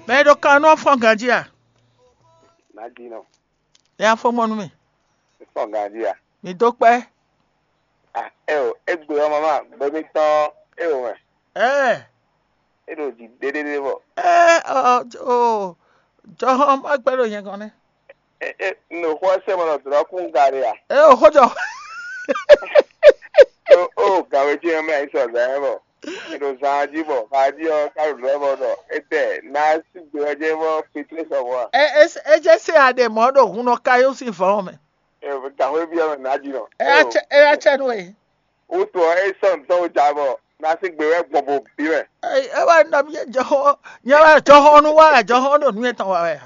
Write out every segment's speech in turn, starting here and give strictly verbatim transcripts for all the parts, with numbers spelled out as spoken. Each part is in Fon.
Mɛ e ɖo kan nú ɔ́ fɔ́n ganjí a? Nǎjínɔ, Nya fɔ́n gbɔn nú mì. Fɔ́n ganjí a? Mǐ dó kpɛ́. Ah, eo, égbé ɔ́ mama, gbɛmítɔn eo mɛ. Ɛɛ, É ɖo jǐ ɖéɖéɖé bɔ. Ɛɛ, ɔ, ɔ, jɔhɔn ma gbɛ́ ɖo nyɛ gɔ́n nɛ́. É é no xó ɔ́ sɛ mɔ ɖɔ dlɔ̌ kún ga ɖe a? Ɛ o xó jɔ. Ó ó gǎnwé ce mɛ ayisɔ zǎn ɛ bɔ. È ɖo zan jí bɔ xají ɔ́ ká ɖo lɔ̌ bɔ ɖɔ étɛ́ ná sí gbe ɔ́ jɛ bɔ pétlé sɔmɔ a? Ɛ ɛ ɛ jẹ́ sɛ aɖe mɔ̌ ɖo hun nɔ káyó sín vɔ̌ mɛ. Gǎnwé byɔ́ mɛ nǎ jí nɔ. Ɛ acɛ ɛ acɛ nú e. Wútu ɔ́ é sɔ́ nǔ tɔn wú ja bɔ ná sí gbe wɛ gbɔn bo bí mɛ. Ɛ wá nɔ mí jɔxɔ nyɛ wá jɔxɔ nú wá jɔxɔ ɖo nú etɔn wá wɛ.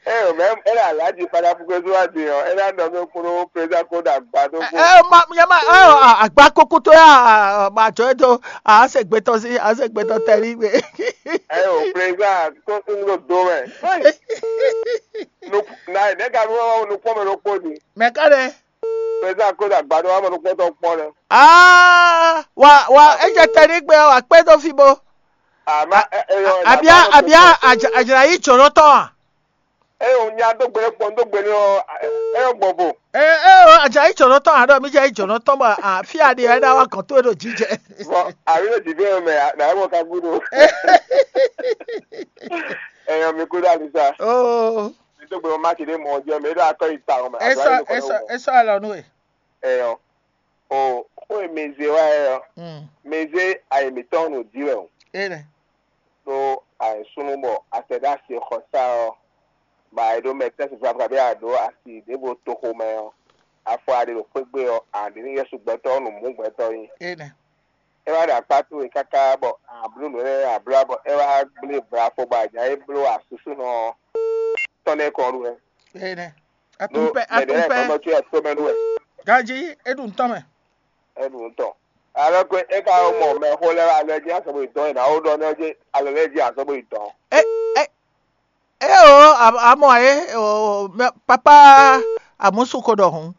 Eo mɛ é le alhaji fada fukwe zú wá din ɔ́ é ná nɔ mí kúrú président kó ɖo agba tó kó. Ɛ ma nyɛ ma ɛ agba kókó tó yá ma jɔ é tó a se gbɛtɔ sí a se gbɛtɔ tɛlí gbé. Eo président kó ń ɖo do mɛ. Na nɛ̌ ka nú nukpɔ́n mɛ ɖokpó din? Mɛ ká ɖe. Président kó ɖo agba tó wá mɛ nukpɔ́n tɔn kpɔ́n lɛ. Aa wa wa é jɛ tɛlí gbé wá kpé dó fi bó. Àmọ́ ẹ ẹ yọ ẹ abia abia àjàyí jòló tɔn a? Eye wò nya dó gbe kpɔn dó gbe ní ɔ ẹ yọ gbɔn vo. Ee ee o àjàyí jòló tɔn àɖɔ mi jẹ yí jòló tɔn bɔ àfi àɖi ẹ dá wá kàn tó e ɖo jíjẹ. Bɔn àbí ló dì fẹ́ mɛ nà ẹ mọ ká gúdo. Ẹyọ mi kú dá lisa. Oo. Mi dó gbe mọ má ti dé mọ jẹ mi dó akọ yìí ta ọmọ. Esọ esọ esọ alọ nú e. Ẹyọ. O xó e mi zé wá ɛ ɔ, mi zé ayǐ mǐtɔn nǔ dí wɛ o. Ee nɛ. Ɖó ayǐsúnú bɔ a tɛ ɖó asi xɔsá ɔ́, bɔ a yi ɖó mɛ tɛ́ntin flafla bɔ a ɖǒ asi ɖěvo toxo mɛ ɔ́, afɔ a ɖe ɖo xwé gbe ɔ́, a ɖě ní Yɛsu gbɛtɔ́ ɔ́ nǔ mú gbɛtɔ́ nyi. Énɛ́. É wá ɖo akpá towe káká bɔ a bló nǔ énɛ́ a bló bɔ é wá gblé vlafɔ bɔ a nya é bló asúsúnɔ ɔ́ tɔn nɛ́ kɔn ɖu wɛ. Énɛ́. Ɖó Atún pɛ, mɛ ɖě atún lɛ́ɛ pɛ. Tɔn nɔ cyɔ tomɛ nú wɛ. Ganjí, é ɖu nǔ tɔn mɛ. É ɖu nǔ tɔn. Alɔ ko é ka mɔ mɛ xó lɛ́ɛ alɔ jí asɔ́ bó yi dɔn é ná wó ɖɔ nɛ́ jí alɔ lɛ́ɛ jí asɔ́ bó yi dɔn. É é é o a- amɔ é o mɛ- papa amusu ko ɖɔ hǔn.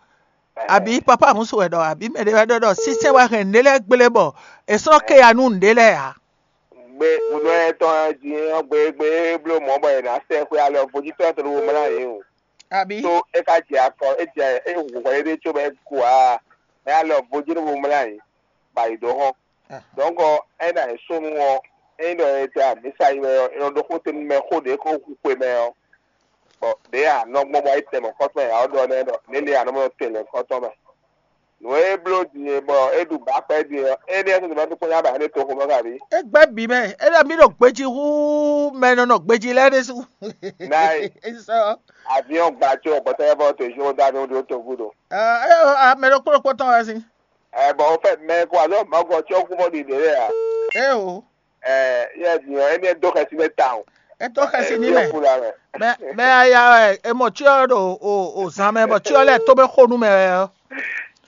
Àbí papa amusu wɛ ɖɔ àbí mɛ ɖé wɛ ɖɔ ɖɔ sísɛn wɛ hɛn nǔɖé lɛ́ɛ gblé bɔ è sɔ́ ké ya nú nǔɖé lɛ́ɛ ǎ. Gbe ŋunɔ etɔn jí ɔ́ gbe gbe é bló mɔ̌ bɔ è nǎ sɛ xwé alɔ vodítɔ́ tɔn ɖo mlá yě o. Àbí Tó é ka jɛ akɔ é jɛ é hu hwɛ ɖé có bɔ é ku ǎ. Mɛ alɔ vodí ɖo mlá yě, bɔ ayǐ dó hɔn. Dɔ̌nkɔ é ná nyí súnnu ɔ́, ényí ɖɔ è tɛ amǐsa yi wɛ ɔ́, è nɔ ɖó xó te nú mɛ xó ɖě ko hu xwe mɛ ɔ́, bɔ ɖě a nɔ gbɔn bɔ é tɛ mɔ̌kɔtɔn e ǎ ɔ́ ɖɔ nɛ́ ɖɔ nɛ̌ lě a nɔ mɔ tɛn lɛ̌nkɔ́tɔn mɛ. Nǔ e é bló din e bɔ é ɖu bǎkpɛ́ din ɔ́, énɛ́ ɔ́ tɔn bá tó kpɔ́n nyá bǎ énɛ́ toxo mɛ kábí. É gbɛ́ bǐ mɛ, é ɖɔ mí ɖo gbejí hú mɛ e nɔ nɔ gbejí lɛ́ɛ ɖésú. Náì. Sɔ. Aviɔn gba tso bɔtɔ yɛ bɔ to Jordani ɖo to gúdo. Ɛ ɛ mɛ ɖokpó ɖokpó tɔn wɛ sín. Ɛ bɔ o fɛ mɛ ko alɔ mɔgɔ tí ó kú mɔ ɖiɖe lɛ a? Ɛ o. Ɛ yɛ diɔ ɛni ɛ dó xɛsi nɛ tawun. Ɛ dó xɛsi ní mɛ. Mɛ mɛ aya ɛ emɔ tí ɔ ɖo o o zan mɛ bɔ tí ɔ lɛ tó bɛ xó nú mɛ wɛ ɔ.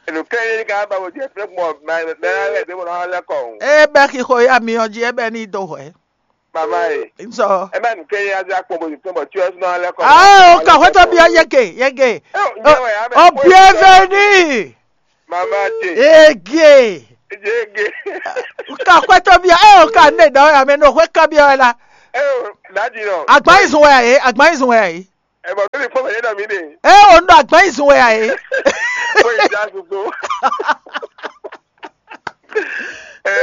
Enu kɛ yɛ ka ba wo jɛ fɛ mɔ mɛ mɛ lɛ de mo na lɛ kɔ. E bɛ xixo ya mi ɔ jí e bɛ ní do hwɛ. Mama ye. Nsɔ. E bɛ nu kɛ yɛ azɛ akpɔ bo tɔn bɔ tí ɔ sún na lɛ kɔ. Ah, o ka hwɛ tɔ bi ɔ yege yege. O bienvenue. Mama ce. Ege. Ege. Ka xwɛtɔ bia ɛ o ka ne dɔ ya mɛ no xwɛ ka bia la. Eo, dadi nɔ. Agban izun wɛ ayi, agban izun wɛ ayi. Ɛ bɔ kí ni fɔ mɛ yé dɔ mi de. Ɛ o nɔ agban izun wɛ ayi. Ko yi da sugbo. Ɛ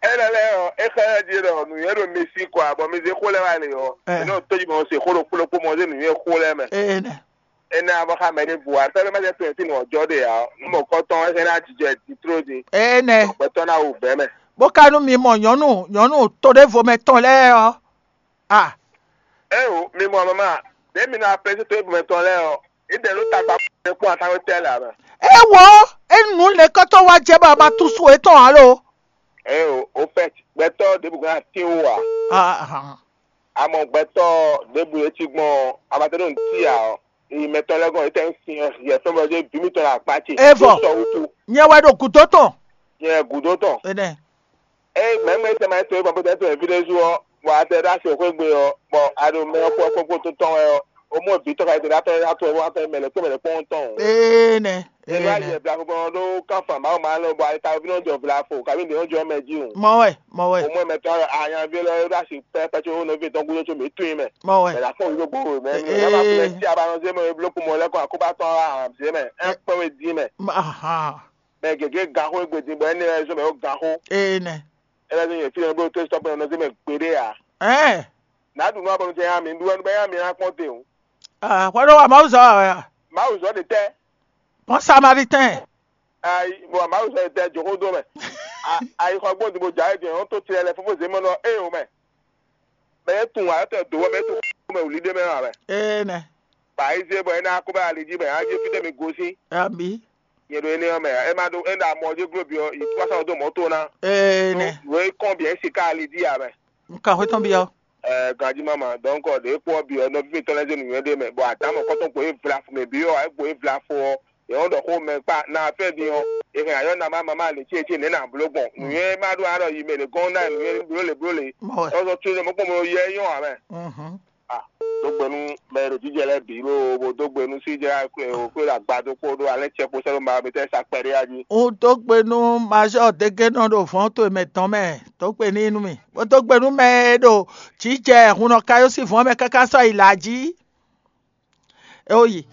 ɛ lɛ lɛ ɔ, e xɛ di dɔ nu yɛ do mesi kɔ, bɔ mi ze xo lɛ wa le ɔ. Ɛ. Ɛ n'o to yi mɔ se xo ɖo kplɔkpɔ mɔ se nu yɛ xo lɛ mɛ. Ɛ nɛ. Ena bɔ xa mɛ ɖé bu atɔ ɖé ma jɛ to ti nɔ jɔ ɖe ya nu mɔ kɔtɔn ɛsɛ na jijɔ ti tro di. Enɛ. Gbɛtɔ na wu bɛ mɛ. Bó ka nú mi mɔ nyɔ̌nu nyɔ̌nu to ɖěvo mɛ tɔn lɛ́ɛ ɔ́. A. Eo mi mɔ mama ɖe mi na pɛsɛ to ebumɛ tɔn lɛ ɔ, idɛ ló tagba kpɔn atanwe tɛ lɛ amɛ. Ewɔ enu lɛkɔtɔ wa jɛ bɔ a ma tu su etɔn alo. Eo o fɛ gbɛtɔ ɖebu gan ti wo a. Ahan. Amɔ gbɛtɔ ɖebu etsi gbɔn amatɛnɔ ti a ɔ. Eyi mɛtɔn lɛ́ɛ gɔn etɛ́ sín ɔ́ hiɛ fɛ́n bɔ dó bǐ mitɔn le akpá ce. Evɔ. Sɔ wutu. Nyɛ wɛ ɖo gǔdo tɔn. Nyɛ gǔdo tɔn. Enɛ. Eye mɛ̌mɛ tɛ ma tɔn bɔ bó tɛ tɔn evi ɖé zu ɔ́, bɔ a tɛ ɖó asi xwé gbe ɔ́, bɔ a ɖo mɛ ɔ́ kpó kpókpó tó tɔn wɛ ɔ́, O mɔ vǐ tɔn ka yi tɛn atɔ atɔ atɔ mɛ lɛ kpɔn mɛ lɛ kpɔn tɔn. Ee nɛ. Ee nɛ. Yɛ bla fɔfɔ ɖo kan fan ma ma lɔ bɔ ayi ka vi nɔ jɔ bla fo ka vi nɔ jɔ mɛ ji o. Mɔ wɛ, mɔ wɛ. O mɔ mɛ tɔn anya vi lɔ ɖo asi pɛ pɛ tso nɔ vi tɔn gudo tso mi tun mɛ. Mɔ wɛ. Mɛ la fɔ yɔgbo mɛ mi la ma fi mɛ ti a ba nɔ zé mɛ blo kun mɔ lɛ kɔ akoba tɔn a zé mɛ ɛ kpɛ we di mɛ. Ahan. Mɛ gɛgɛ gan xo egbe din bɔ ɛnɛ lɛ zɔn mɛ o gan xo. Ee nɛ. Ɛlɛ zɔn yɛ fi lɛ blo to stop nɔ zé mɛ gbeɖe a. Ɛɛ. N'a ɖu nú abɔnú tɛ ya mi ɖu ɛnu bɛ ya mi na kpɔn te o. Ah, hwɛ ɖo wa Mawu zɔ wɛ a? Mawu zɔ ɖe tɛ. Pɔn Samalitɛn. Ayi bɔ Mawu zɔ ɖe tɛ joxo do mɛ. Ayi xɔ gbɔn dibo dza ɛ jɛ ɔn to tirɛ lɛ fofo zé mɛ nɔ e o mɛ. Mɛ e tun wa tɛ do wɛ mɛ e tun mɛ wuli ɖe mɛ wa mɛ. Ee nɛ. Ba yi zé bɔ e na ko bɛ ali jí mɛ a jɛ fi tɛ mi gosin. Ami. Nyɛ ɖo énɛ́ ɔ́ mɛ ɛ ma ɖo é ɖo amɔ jí glo byɔ yi kpásá ɔ́ dó mɔ̌ tó ná. Ee nɛ. Nǔ e kɔn byɔ̌ é si ká ali jí ǎ mɛ. Un kan xwé tɔn byɔ́. Ɛɛ ganjí máma donc ɖě kpó ɔ́ byɔ́ nɔví mǐtɔn lɛ́ɛ zé nǔnywɛ́ ɖé mɛ bɔ adámɔ kɔ́tɔn gbo é vla fo mɛ byɔ́ ɔ́ é gbo é vla fo ɔ́ yě wɔ́n ɖɔ xó mɛ kpá ná fɛ́ din ɔ́ è hɛn ayɔ́ ná má mamá lě cé cé nɛ̌ ná bló gbɔn nǔnywɛ́ má ɖó arɔ yi mɛ ɖě gɔ́n ná nǔ e bló lě bló lě. Mɔ wɛ. Tɔ́zɔ́ tún mɔ kpɔ́n mɔ yɛ nyɔ́ ǎ mɛ. Mhm. Ah, dó gbe nú mɛ e ɖo jijɛ lɛ́ɛ bǐ lóo bó dó gbe nú síjɛ xwé ɖo agbadó kpódó alɛ́ cɛ kpo sɛ́ ɖo ma mitɛ́ sa kpɛɖé a jí. Un dó gbe nú majɔ́ dégénɔ ɖo vɔ̌n towe mɛ tɔn mɛ, dó gbe n'i nú mì, bó dó gbe nú mɛ e ɖo jǐjɛ hunnɔ kayó sín vɔ̌n mɛ káká sɔ́ yi lǎ jí. É ó yi.